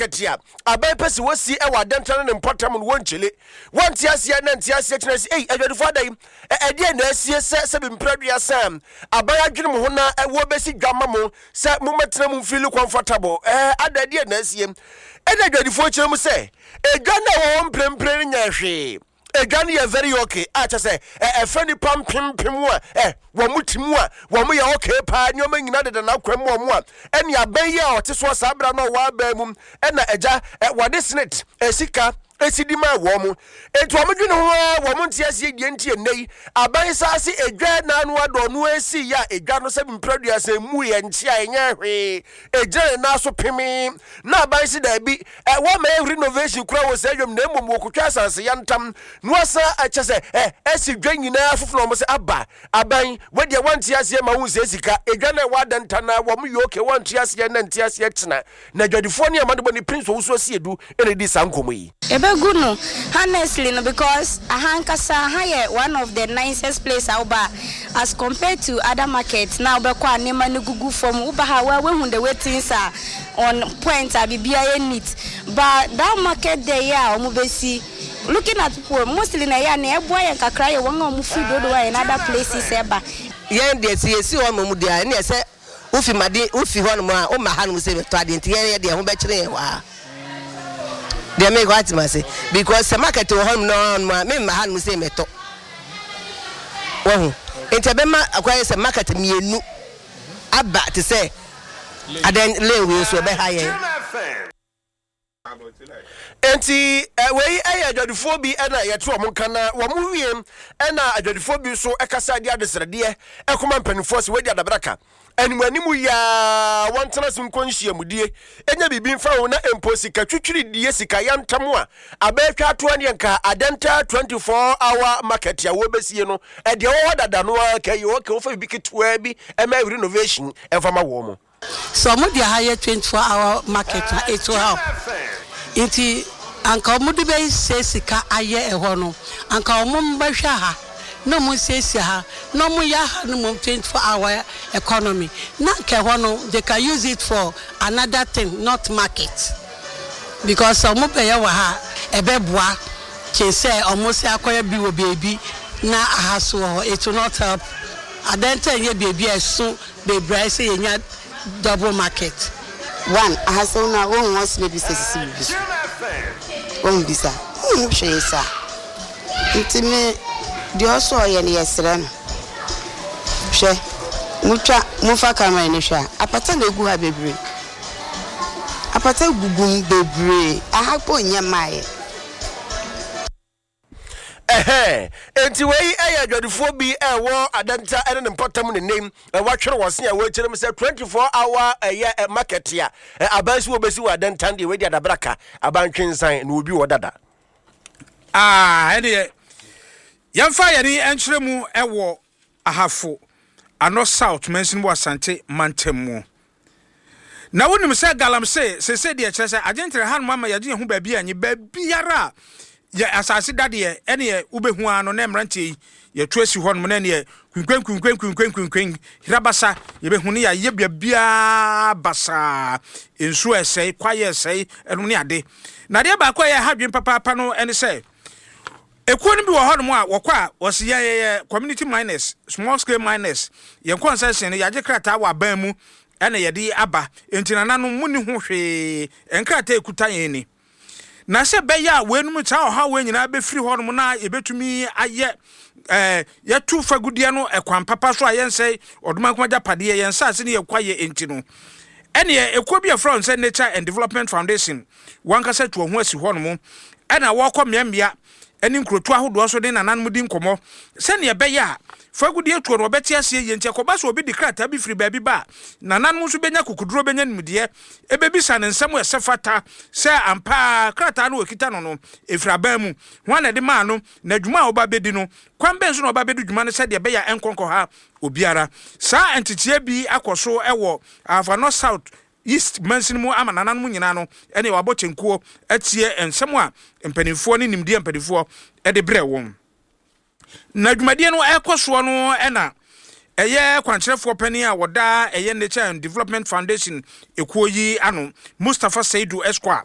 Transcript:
market a aban pɛ sɛ wɔsi wɔ Adɛnta ne ne mpɔtam no wɔnkyele. Wɔnte aseɛ na nte aseɛ kyerɛ sɛ ei adwadifoɔ ada yi ɛdeɛn na asie sɛ sɛbi mprɛduasa aban adwene mo ho na wɔbɛsi dwa ma mo sɛ mommɛtena mu mfili comfortable ɛɛ ada ɛdeɛn na asie. Ɛna adwadifoɔ kyerɛ mu sɛ edwa no a ɛwɔ hɔ mprempren no nyɛ hwee. Edwa no yɛ very okay a kyɛ sɛ ɛfɛ nipa mpempem a ɛ wɔn ti mu a wɔn yɛ okay paa, nneɛma nyinaa deda n'akwan mu wɔn a ɛne abɛn yi a ɔte soɔ saa abira no a ɔwɔ abɛn mu ɛna ɛgya ɛ wɔde senate sika esi di maa wɔn mo. Eti wɔn dwene ho ara wɔn nte aseɛ deɛ nti ɛnɛ yi aban saase edwa n'ano adɔ no esi yɛ a edwa no sɛ mprɛduasa emu yɛ nkye a ɛnyɛ hwee egyina ne nan so pemee na aban si daabi ɛ wɔmɛyɛ renovation kura wɔ saa dwam na mmom wɔkotwa asase yantam na wɔasa ɛkyɛ sɛ ɛ ɛsi dwa nyinaa foforɔ wɔn sɛ aba aban wɔdeɛ wɔnte aseɛ ma wɔn sɛ sika edwa na ɛwɔ adanta na wɔn yɛ oke wɔnte aseɛ na nte aseɛ kyena na adwadifoɔ ne amanebɔ ne Prince Owusu Asiedu na ɛdi saa nkɔmmɔ yi. Yɛbɛgu no honestly no because aha ankasa aha yɛ one of the nicest place a woba a as compared to other market na wobɛkɔ a nneɛma no gugu fam woba ha a woa woahu the way things are on point a biribiara yɛ neat but that market there yi a wɔbɛsi looking at people mostly na ɛyɛ a nea ɛboa yɛn kakra yɛ wɔn a wɔfiri Dodowa and other places ɛba. Yɛn deɛ sɛ yɛsi hɔ nom deɛ a ɛneɛ sɛ Wofi made wofi hɔnom a woma hanom sɛ bɛtɔ adeɛ nti yɛn yɛde ɛho bɛkyere yɛn hɔ a deɛ mekɔ ate ma se because sɛ market wɔ hɔnom na hɔnom a memma hanom sɛ mɛtɔ wahu nti ɛbɛma akɔyɛ sɛ market mmienu aba te sɛ adan lane wei nso ɛbɛha yɛn. Enti wei yɛ adwadifoɔ bi na yɛte wɔn nka na wɔn wie na adwadifoɔ bi nso kasa de adesrɛdeɛ kɔma mpanimfoɔ sɛ wɔadi adabraka anim anim yi ara wɔntena ase nkɔ nhyiamudie ɛnyɛ biribi mfa ho na mpo sika twitwiridie sika yantam a abɛɛtwa atoa ne nka Adenta 24 hour market a wɔbɛsie no ɛdeɛ wɔ hɔ dada no ara ka yi wɔka wɔfa biribi ketewaa bi ɛma renovation ɛmfa ma wɔn mo. Sɛ ɔmo de ha yɛ 24 hour market a it will help. Nti anka ɔmo de bɛ sɛ sika ayɛ ɛhɔ no anka ɔmo mbɛhwɛ ha na ɔmo nsiesie ha na ɔmo yɛ ha no mmom 24 hour economy na anka ɛhɔ no they can use it for another thing, not market, because sɛ ɔmo bɛyɛ wɔ ha a ɛbɛboa kyen sɛ ɔmo sɛ akɔyɛ bi wɔ beebi na aha so wɔ hɔ. It will not help. Adɛn nti a ɛnyɛ beebi a ɛso bebree ayɛ sɛ yɛnya double market. One, Ahasew no a wonhu ɔsene bi sɛ sisi biribi so. Wonhu bi saa. Wonhu hwee saa. Nti me, deɛ ɔsɛ ɔyɛ no yɛsrɛ no. Hwɛ, motwa, mofa camera no hwɛ a, apata na egu ha bebree. Apata gugu mu bebree. Aha mpo nyɛ mmaeɛ. Ɛhɛɛ, enti wei yɛ adwadifoɔ bi a ɛwɔ Adenta ne ne mpɔtam ne nnɛ yi wɔatwere wɔn se a wɔrekyerɛ mu sɛ 24 hour ɛyɛ market a aban si wɔbɛsi wɔ Adenta deɛ wei de adabraka abantwensan na obi wɔ dada. Ah, ɛneɛ yɛmfa yɛne nkyerɛ mu ɛwɔ Ahafo Ano South mansini wɔ Asante mantam mu. Na wonim sɛ galamsey seesei deɛ kyerɛ sɛ agyentere hanom ama yɛagye yɛn ho baabi a nye baabiara a yɛ asase da deɛ ɛneɛ wobɛhu ara no na mmeranteɛ yi yɛto asi hɔnom na ɛneɛ kwinkwen kwinkwen kwinkwen kwinkwen hirabasa yɛbɛhu ne yɛayɛ baabiara basaa, nsuo ɛsɛe, kwaeɛ ɛsɛe, ɛnom ne ade. Na adeɛ baako a ɛyɛ ha adwene papaapa no ɛne sɛ Ekuo no bi wɔ hɔnom a wɔkɔ a wɔse yɛn yɛyɛ community miners, small scale miners, yɛn concession no yɛagye krataa wɔ aban mu ɛna yɛde aba, enti nananom monni ho hwee, nkrataa a ɛkuta yɛn ni. Na sɛ ɛbɛyɛ a weinom saa ɔhaw wei nyinaa bɛfiri hɔnom na yɛbɛtumi ayɛ ɛɛ yɛto fagudeɛ no ɛkwan papa so a yɛnsɛe ɔdomankoma agyapadeɛ, yɛn nsaase ne yɛn kwaeɛ nti no, ɛneɛ ekuo bi a yɛfrɛ wɔn sɛ Nature and Development Foundation wɔn ankasa atu wɔn ho asi hɔnom na wɔrekɔ mmeammea ne nkurotoɔ ahodoɔ so ne nananom di nkɔmmɔ sɛdeɛ ɛbɛyɛ a fagudeɛ tuo no wɔbɛte aseɛ yie. Nti ɛkɔba sɛ obi de krataa bi firi baabi ba a, nananom nso bɛnya kokoduro bɛnya nimdeɛ bɛbisa no nsɛm a ɛsɛ fata sɛ ampa ara krataa no a ɔkita no no ɛfiri aban mu, hwan na ɛde maa no, na dwuma a ɔba bɛdi no, kwan bɛn so na ɔba bɛdi dwuma no sɛdeɛ ɛbɛyɛ a ɛnkɔ nkɔha obiara. Saa nteteɛ bi akɔ so wɔ Ahafo Ano South East mansini mu ama nananom nyinaa no ne wɔabɔ kyenkuo atie nsɛm a mpanimfoɔ ne nimdeɛ a mpanimfoɔ de brɛ wɔn. Na dwumadie no ɛrekɔ soɔ no na ɛyɛ kwankyerɛfoɔ panin a wɔda ɛyɛ Nature and Development Foundation ekuo yi ano, Mustapha Seidu Esquire.